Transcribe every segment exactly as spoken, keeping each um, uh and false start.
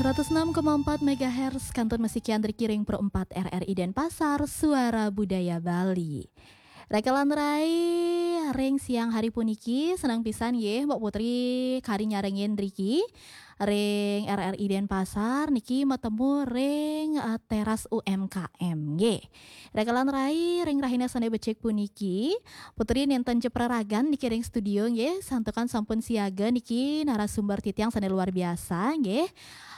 Seratus enam koma empat megahertz, kantun masikian ring Pro empat R R I Denpasar, Suara Budaya Bali. Raka lan rai, ring siang hari puniki, senang pisan nggih, Mbok Putri kari nyarengin riki, ring R R I Denpasar, niki matemu ring, eh, teras U M K M nggih. Raka lan rai, ring rahina sane becik puniki, Putri nenten jepraragan niki ring studio nggih, santukan sampun siaga niki narasumber titiang sane luar biasa nggih.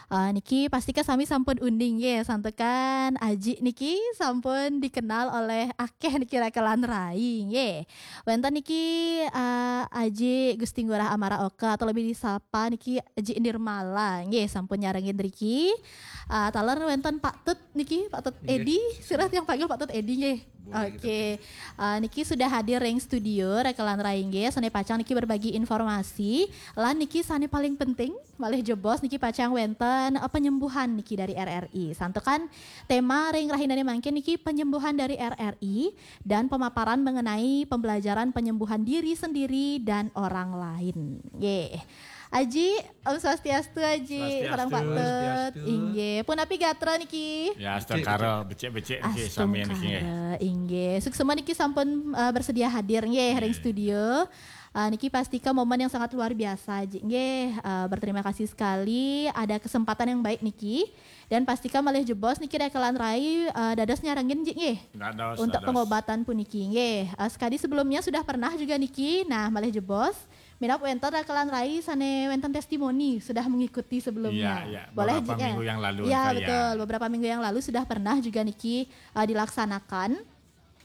Eh, niki pastika sami sampun uning nggih, santukan Aji niki sampun dikenal oleh akeh niki raka lan rai nggih. Wenten niki, eh, Aji Gusti Ngurah Amara Oka atau lebih disapa niki Aji Nirmala nggih, sampun nyarengin riki. Eh, taler wenten Pak Tut niki, Pak Tut Edi, sirah tiang panggil Pak Tut Edi nggih. Oke. Eh, niki sudah hadir ring studio, raka lan rai nggih, sane pacang niki berbagi informasi, lan niki sane paling penting, malih jebos niki pacang wenten, eh, penyembuhan niki dari R R I. Santukan tema ring rahinane mangkin niki penyembuhan dari R R I dan pemaparan mengenai pembelajaran penyembuhan diri sendiri dan orang lain. Nggih. Aji, Om Swastiastu, Aji. Swastiastu. Sareng Pak Tut. Swastiastu. Inggih. Punapi gatra niki? Ya, astungkara, becik-becik niki sami niki nggih. Astungkara, inggih. Suksma niki sampun, eh, bersedia hadir nggih ring studio. Eh, niki pastika momen yang sangat luar biasa, Aji. Nggih, eh, berterima kasih sekali ada kesempatan yang baik niki. Dan pastika malih jebos niki raka lan rai, eh, dados nyarengin, Ji, nggih. Dados, untuk dados pengobatan puniki nggih. Eh, sekadi sebelumnya sudah pernah juga niki. Nah, malih jebos minab wenten raka lan rai sane wenten testimoni sudah mengikuti sebelumnya. Iya, iya. Boleh, beberapa Ji, ya? Minggu yang lalu, ya, betul. Beberapa minggu yang lalu sudah pernah juga niki, eh, dilaksanakan.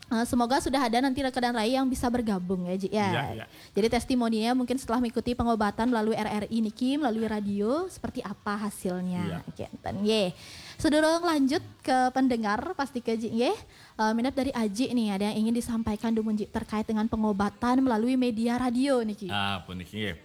Eh, semoga sudah ada nanti raka lan rai yang bisa bergabung ya, Ji, ya. Iya, iya. Jadi testimoninya mungkin setelah mengikuti pengobatan melalui R R I niki, melalui radio, seperti apa hasilnya. Iya. Oke, enten, nggih. Sedurung lanjut ke pendengar, pastika, Ji, nggih. Eh, minab dari Aji nih, ada yang ingin disampaikan dumun, Ji, terkait dengan pengobatan melalui media radio niki? Ah, puniki nggih.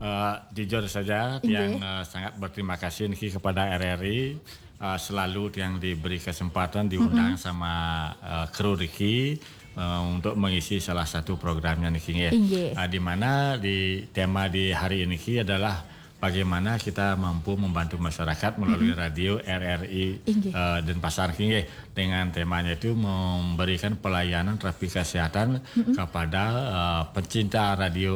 Eh, jujur saja, inggih, tiang, eh, sangat berterima kasih niki kepada R R I, eh, selalu tiang diberi kesempatan diundang sama, eh, kru riki, eh, untuk mengisi salah satu programnya niki nggih. Inggih. Eh, di mana di tema di hari ini niki adalah bagaimana kita mampu membantu masyarakat melalui radio R R I, inggih, eh, Denpasar niki nggih. Dengan temanya itu memberikan pelayanan terapi kesehatan kepada, eh, pencinta radio